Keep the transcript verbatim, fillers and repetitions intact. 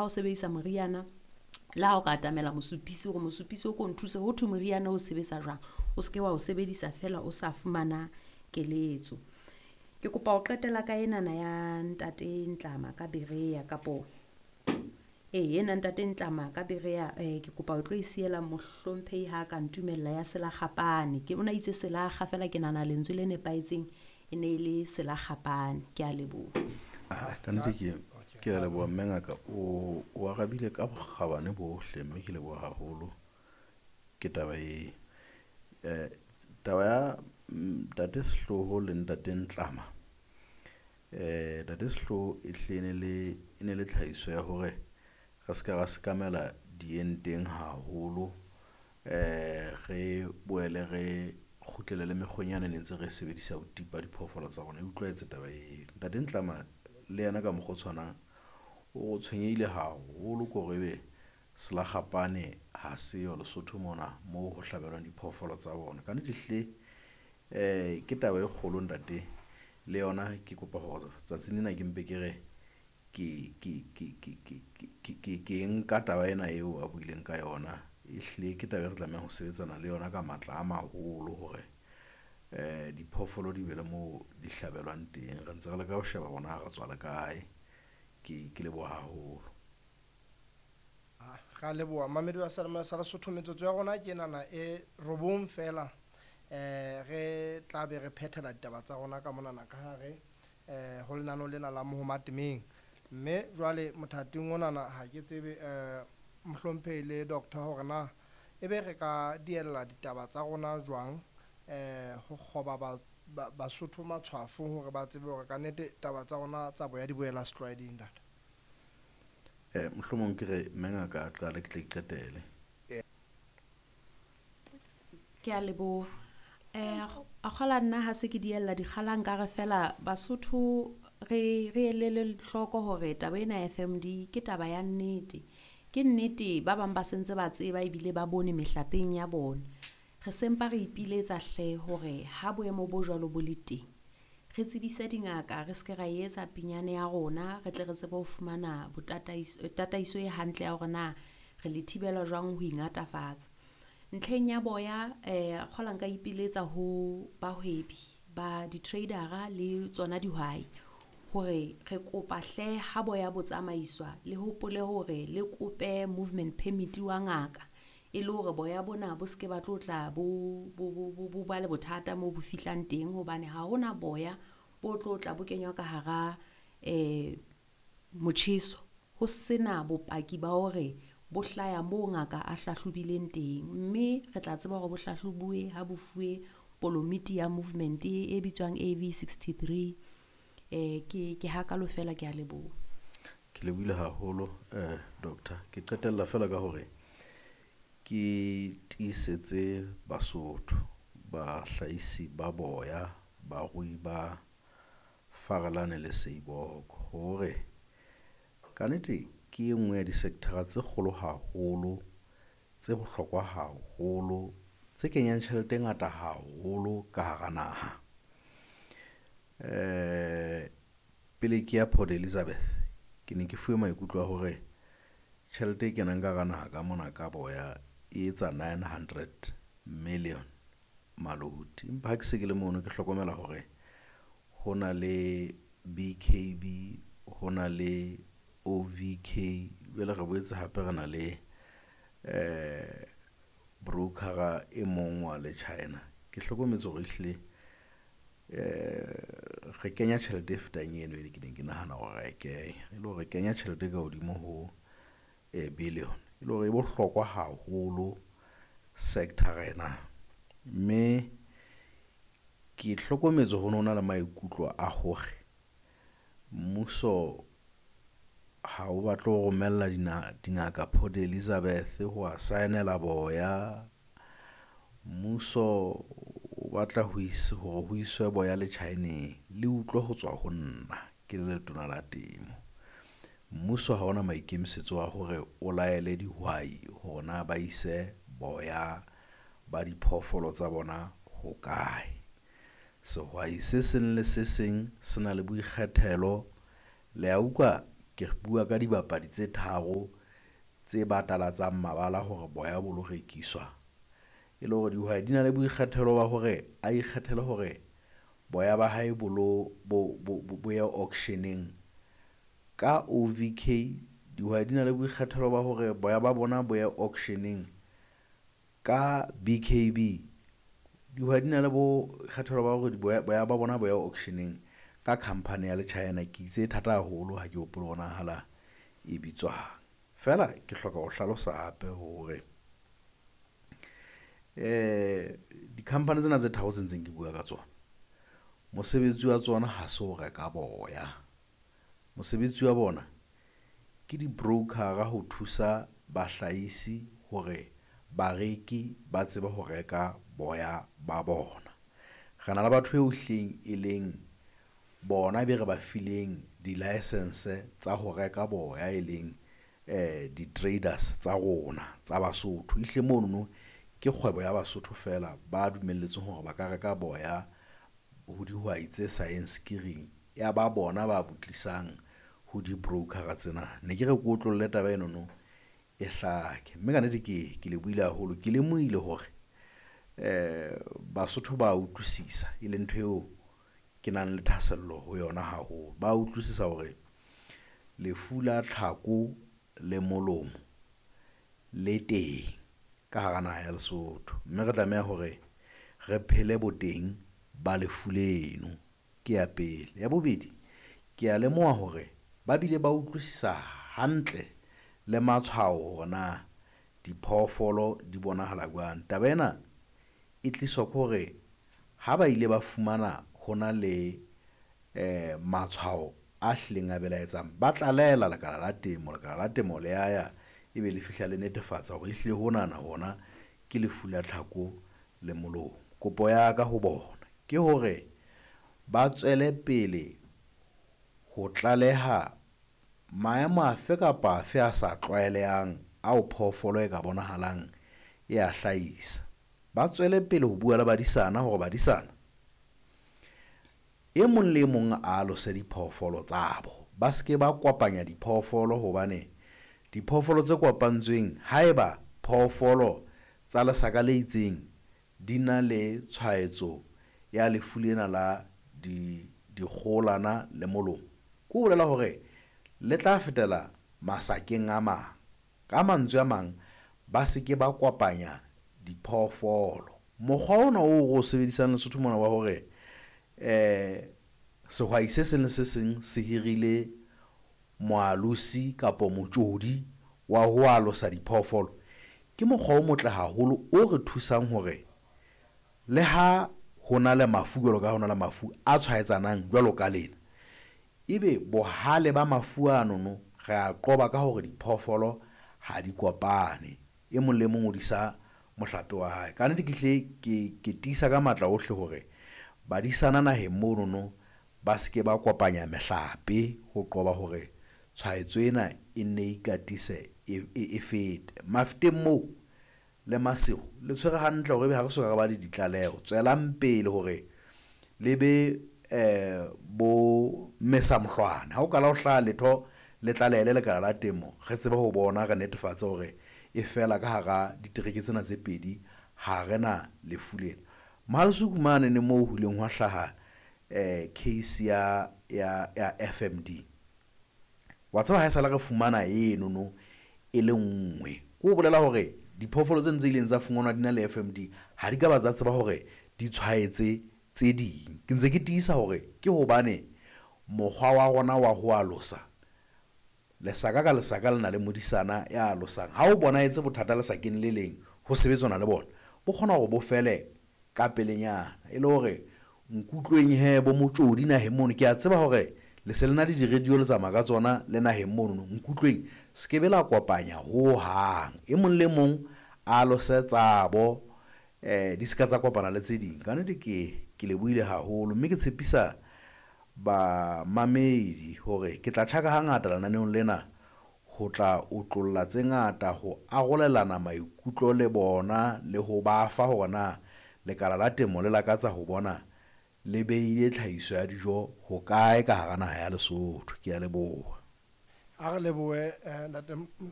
ha o sebedisa moriana, le ha o ka atamela mosupisi hore mosupisi o ko nthuse ho thwe moriana o sebetsa jwang, o se ke wa o sebedisa feela o sa fumana keletso. Ke kopa ho qetela ka enana ya ntate Ntlama ka Berea kapo, ee ena ntate Ntlama ka Berea ke kopa ho tlo e siela mohlomphehi ha ka ntumella ya selakgapane. Ke ona itse selakga feela ke nahana lentswe le nepahetseng e ne le selakgapane. Kea leboha. Ah, kannete ke ke a leboha mme ngaka o o arabile ka bokgabane bohle mme ke leboha haholo ke taba e. Eh taba ya ntate Sehloho le ntate Ntlama, eh ntate Sehloho e hlile e ne le e ne le tlhahiso ya hore re ska ra sekamela dienteng haholo, eh re boele re kgutlele le mekgweng yane ne ntse re sebedisa ho tipa diphoofolo tsa rona. E utlwahetse taba eo. Ntate Ntlama le yena ka mokgwa o tshwanang o tshwenyehile haholo ko re ebe selakgapane ha seyo Lesotho mona moo ho hlabelwang diphoofolo tsa bona. Kannete ehlile ke taba e kgolo ntate le yona ke kopa hore tsatsing lena ke mpe ke re ke ke ke ke ke ke ke ke nka taba ena eo a buileng ka yona. Ehlile ke taba e re tlamehang ho sebetsana le yona ka matla a maholo hore diphoofolo di be le moo di hlabelwang teng. Re ntse re leka ho sheba hore na re tswa le kae. Ke ke leboha haholo. Ra leboha mamedi wa seyalemoya sa Lesotho metsotso ya rona ke enana e robong fela eh re tla be re phethela ditaba tsa rona ka monana ka hare eh ho lenaneo lena la Mohoma Temeng. Mme jwale mothating onana ha ke tsebe eh mohlomphehi le doctor hore na ebe re ka diella ditaba tsa rona jwang eh ho kgoba ba Basotho matshwafo hore ba tsebe hore kannete taba tsa rona tsa boya di boela setlwaeding ntate. Eh mohlomong ke re mme ngaka a qale ke tle ke qetele. Ke a leboha. Eh a kgola nna ha se ke diella dikgala nkare fela Basotho re re elele hloko hore taba ena ya F M D ke taba ya nnete. Ke nnete ba bang ba sentse ba tseba ebile ba bone mehlapeng ya bona. Re sempa re ipiletsa hle hore ha boemo bo jwalo bo le teng, re tsebise dingaka re ske ra etsa pinyane ya rona, re tle re tsebe ho fumana botataiso tataiso e hantle ya hore na re le thibela jwang ho ingatafatsa. Ntlheng ya boya eh kgola nka ipiletsa ho bahwebi ba di-trader-a le tsona dihwai hore re kopa hle ha boya bo tsamaiswa le hopole hore le kope movement permit wa ngaka e le hore boya bona bo ske ba tlo tla bo bo bo bo ba le bothata moo bo fihlang teng hobane ha hona boya bo tlo tla bo kenywa ka hara eh motjheso ho sena bopaki ba hore bo hlaya moo ngaka a hlahlobileng teng. Mme re tla tseba hore bo hlahlobuwe ha bo fuwe polomiti ya movement e bitswang A V sixty-three. Eh ke ke hakalo fela ke a leboha. Ke lebohile haholo eh doctor. Ke qetella fela ka hore ke tiisetse Basotho, bahlahisi ba boya, barui ba Farelane le Seiboko hore kannete ke e nngwe ya di-sector-a tse kgolo haholo, tse bohlokwa haholo, tse kenyang tjhelete e ngata haholo ka hara naha. Eh pele ke ya Port Elizabeth, ke ne ke fuwe maikutlo a hore tjhelete e kenang ka hara naha ka mona ka boya e etsa nine hundred million maloti. Empa ha ke se ke le mono, ke hlokomela hore ho na le B K B, ho na le O V K, jwale re boetse hape re na le eh broker-a e mong wa le China. Ke hlokometse hore ehlile eh re kenya tjhelete e fetang eno e ke neng ke nahana hore ra e kenya. E le hore re kenya tjhelete e ka hodimo ho billion, e le hore e bohlokwa haholo sector ena. Mme ke hlokometse ho no na le maikutlo a hore mmuso ha o batle ho romella dingaka Port Elizabeth ho wa saenela boya. Mmuso o batla ho hore ho iswe boya le China-eng. Le utlwe ho tswa ho nna ke le letona la temo. Mmuso ha ona maikemisetso a hore o laele dihwai hore na ba ise boya ba diphoofolo tsa bona ho kae? Sehwai se seng le se seng se na le boikgethelo. Le a utlwa Ke bua ka dibapadi tse tharo tse batalatsang mabala hore boya bo lo rekiswa. E le hore dihwai di na le boikgethelo ba hore a ikgethele hore boya ba hae bo lo bo bo ye auction-eng ka O_V_K. Dihwai di na le boikgethelo ba hore boya ba bona bo ye auction-eng ka B_K_B. Dihwai di na le bo kgethelo ba hore boya ba bona bo ye auction-eng ka khampani ya le-China. Ke itse e thata haholo ha ke hopole hore na e bitswang. Feela ke hloka ho hlalosa hape hore di-company tsena tse tharo tse ntseng ke bua ka tsona, mosebetsi wa tsona ha se ho reka boya. Mosebetsi wa bona ke di-broker-a ho thusa bahlahisi hore bareki ba tsebe ho reka boya ba bona. Re na le batho eo hlileng e leng bona be re ba fileng di-licence tsa ho reka boya, e leng di-traders tsa rona tsa Basotho. Ehlile monono ke kgwebo ya Basotho feela ba dumelletsweng hore ba ka reka boya ho dihwai tse sa yeng skiring, ya ba bona ba bo tlisang ho di-broker-a tsena. Ne ke re ke otlolle taba enono e hlake, mme ka nnete ke ke lebohile haholo. Ke lemohile hore Basotho ba utlwisisa e leng ntho eo ke nang le thahasello ho yona haholo. Ba utlwisisa hore lefu la tlhako le molomo le teng ka hara naha ya Lesotho, mme re tlameha hore re phele bo teng ba lefu leno, ke ya pele. Ya bobedi, ke a lemoha hore ba bile ba utlwisisa hantle le matshwao hore na diphoofolo di bonahala jwang? Taba ena e tliswa ke hore ha ba ile ba fumana hona le matshwao a hlileng a belaetsang, ba tlalehela lekala la temo. Lekala la temo le ya ya ebe le fihla le netefatsa hore ehlile honana hona ke lefu la tlhako le molomo. Kopo ya ka ho bona ke hore ba tswele pele ho tlaleha maemo a fe kapa afe a sa tlwaelehang ao phoofolo e ka bonahalang e a hlahisa. Ba tswele pele ho bua le badisana hore badisana e mong le e mong a alose diphoofolo tsa bo. Ba se ke ba kopanya diphoofolo hobane diphoofolo tse kopantsweng, ha eba phoofolo tsa lesaka le itseng di na le tshwaetso ya lefu lena la dikgoholana le molomo, ke ho bolela hore le tla fetela masakeng a mang. Ka mantswe a mang, ba se ke ba kopanya diphoofolo. Mokgwa ona oo re o sebedisang Lesotho mona wa hore sehwai se seng le se seng se hirile moalosi kapo motjodi wa ho alosa diphoofolo, ke mokgwa o motle haholo o re thusang hore le ha hona le mafu jwalo ka ha hona le mafu a tshwaetsanang jwalo ka lena, ebe bohale ba mafu anono re a qoba ka hore diphoofolo ha di kopane. E mong le mong o disa mohlape wa hae. Kannete ke hlile ke ke tiisa ka matla ohle hore badisana naheng monono ba se ke ba kopanya mehlape ho qoba hore tshwaetso ena e nne ikatise e fete. Mafeteng moo le Maseru le tshwere hantle hore ebe ha re soka re ba le ditlaleho. Tswelang pele hore le be bo mesa mohlwane. Ha o kala ho hlaha letho le tlalehele lekala la temo, re tsebe ho bona, re netefatse hore e fela ka hara ditereke tsena tse pedi ha re na lefu lena. Mohale'hoek mane moo ho ileng hwa hlaha case ya ya ya F_M_D. Wa tseba haesale re fumana enono e le nngwe, ke ho bolela hore diphoofolo tseno tse ileng tsa fumanwa di na le F_M_D ha di ka ba tsa tseba hore di tshwaetse tse ding. Ke ntse ke tiisa hore ke hobane mokgwa wa rona wa ho alosa, lesaka ka lesaka le na le modisana ya alosang. Ha o bonahetse bothata lesakeng le leng ho sebetsana le bona, bo kgona hore bo fele ka pelenyana. E le hore nkutlweng hee bo motjodi naheng mono, ke a tseba hore le se le na le di-radio le tsamaya ka tsona le naheng monono. Nkutlweng se ke be la kopanya hohang, e mong le mong a alose tsabo di se ka tsa kopana le tse ding. Kannete ke ke lebohile haholo, mme ke tshepisa bamamedi hore ke tla tjhaka hangata lenaneong lena ho tla otlolla tse ngata, ho arolelana maikutlo le bona le ho ba fa hore na lekala la temo le lakatsa ho bona le beile tlhahiso ya dijo hokae ka hara naha ya Lesotho. Ke a leboha. A re lebohe eh, ntate M-